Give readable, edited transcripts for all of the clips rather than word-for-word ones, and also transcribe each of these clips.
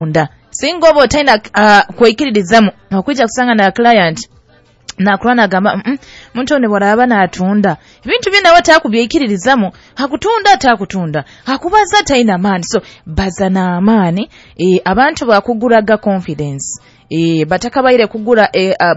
Nda singa oba otaina kwikiririzamu, okwija kusanga na client nakurwa nagamba, muntu ono bwaraba natunda ebintu bye, nawe takubyikiririzamu, hakutunda atakutunda, hakubaza taina maani. So baza n'amaani. Abantu bakuguraga confidence. Batakabaire kugura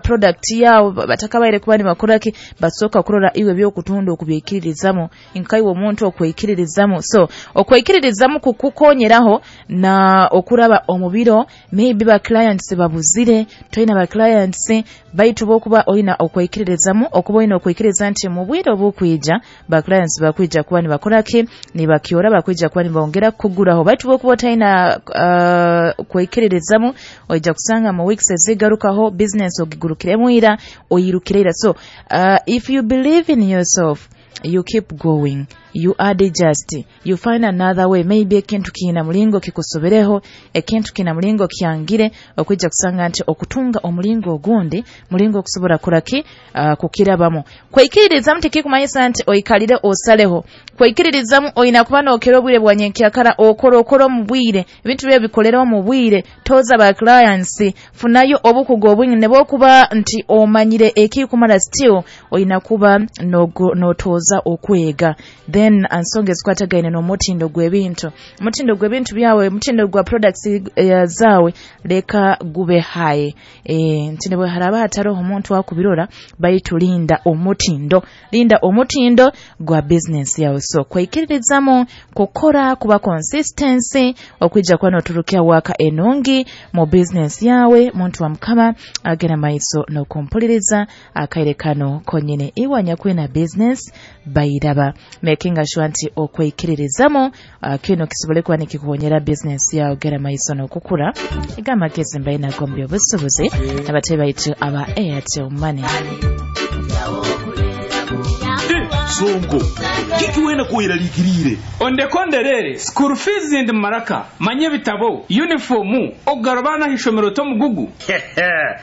product yawe, batakabaire kuba nibakoraki, basooka kurora iwe byokutunda okubyikiririzamu, nkaiwe omuntu okwikiririzamu. So okwikiririzamu kukukonyeraho na okuraba omu biro maybe ba clients babuzire, toyina ba clients, baitu bokuba oyina okwikiririzamu, okuba oyina okwikiriza nti mu bwire obukwija ba clients bakwija kuba nibakoraki, nibakyora, bakwija kuba nibongera kukuguraho. Baitu bokuba otayina kwikiririzamu, oija kusanga mu weeks ezigarukaho business ogigurukiremu ira, oyirukire ira. So if you believe in yourself, you keep going, you adjust, you find another way. Maybe ekintu kiina mulingo kikusobereho, ekintu kiina mulingo kyangire, okwija kusanga nti okutunga omulingo ogundi mulingo okusobola kuraki, kukirabamu. Kwikiririzamu tikikumanyisa nti oikalire osaleho. Kwikiririzamu oyina kuba nokera obwire bwa nyenkyakara, okora okora omu bwire, ebintu bye bikolera omu bwire, toza ba clients, funayo obukugu obwingi, ne bwokuba nti omanyire ekikumara, still oyina kuba notoza okwega. Then ansonga ezikwatagaine n'omutindo gw'ebintu, omutindo gw'ebintu byawe, omutindo gwa products zawe leka gube high, nti ne bwe haraba hataroho omuntu akubirora, baitu linda omutindo, linda omutindo gwa business yawe. So kwikiririzamu, kukora, kuba consistency, okwija kuba noturukya waka enungi mu business yawe. Muntu wa Mukama agenda maiso n'okumpuliriza akaire kano konyene, iwe anyakwina business bairaba, making sure nti okwikiririzamu kino kisobole kuba nikikukonyera business yawe gera maiso n'okukura. Egamagezi mbaina gombi obusubuzi abatebe baitu aba Airtel Money. Sonko, kiki wena kweraliikiriire? Ondekonderere school fees ndi maraka manye ebitabo, uniform, okugarabana ishomero tomugugu.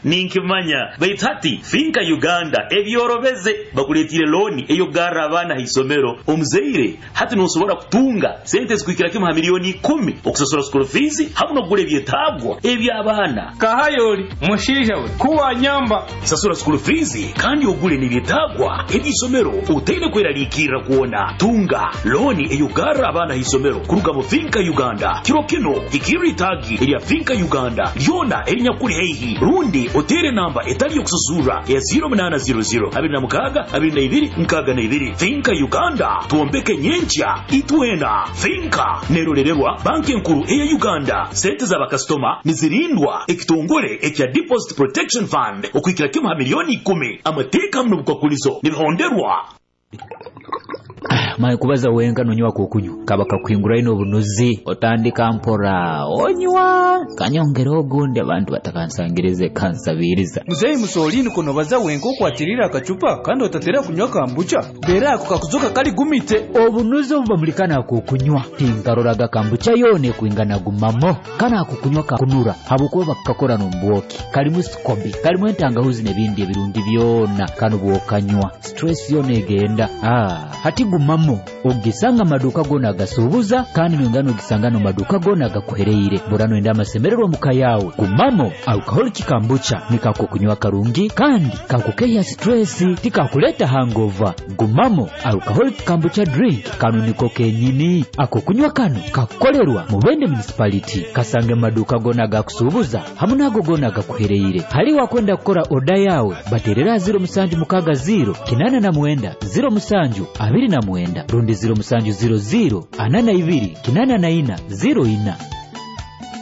Ninkimanya, baitu hati FINCA Uganda ebyorobeze, bakuleetire looni ey'okugarra abaana ha isomero. Omuzaire hati nosobora kutunga sente ezikuhikira kimu ha miliyoni 10 okusasura school fees hamu n'okugura ebyetaagwa eby'abaana. Kahayoli mushaija we kuwanyamba. Sasura school fees kandi ogule n'ebyetaagwa eby'isomero otaine kweraliikirra kwona. Tunga looni ey'okugarra abaana ha isomero kuruga mu FINCA Uganda. Kiro kino hikirra itaagi erya FINCA Uganda lyona erinyakuli haihi, rundi oteere namba etali y'okusasurra eya 0800 26 22 62. FINCA Uganda, twombeke nyenkya itwena. FINCA nerolererwa Banki Enkuru eya Uganda. Sente z'abakasitoma nizirindwa ekitongole ekya Deposit Protection Fund okuhikira kimu ha miliyoni 10. Amateeka hamu n'obukwakulizo nibihonderwa. Maye kubaza wenka nonywa kokunywa kaba kakuhinguraine obunuzi, otandika mpora onywa kanyongera ogundi, abantu batakansangirize kansabiriza. Muzeyi Musolini, kunobaza wenka okwatirira akacupa kandi otatera kunywa kambucha bera ako kakuzoka kali gumite. Obunuzi obu bamulikana akokunywa tinkaroraga kambucha yone kwingana gumamo. Kana akukunywa kakunura habwokuba bakakora n'ombwoki, kalimu sikobi, kalimu entangahuzi n'ebindi ebirungi byona. Kano bwokanywa stress yona egenda. Hati gumamo ogisanga amaduka gona agasuubuza, kandi noyongera nogisanga nomaduka gona agakuhereire. Bora noyenda amasemererwa muka yawe, gumamo alcoholic kambucha nikakukunywa karungi kandi kakukehya stress, tikakuleta hangover. Gumamo alcoholic kambucha drink, kano niko kenyini ako kunywa. Kano kakukolerwa Mubende Municipality. Kasange maduka gona agakusuubuza hamu nago gona agakuhereire. Hali wakwenda kukora oda yawe, baterera 0760 89 07 29 rundi 0700 42 84 04.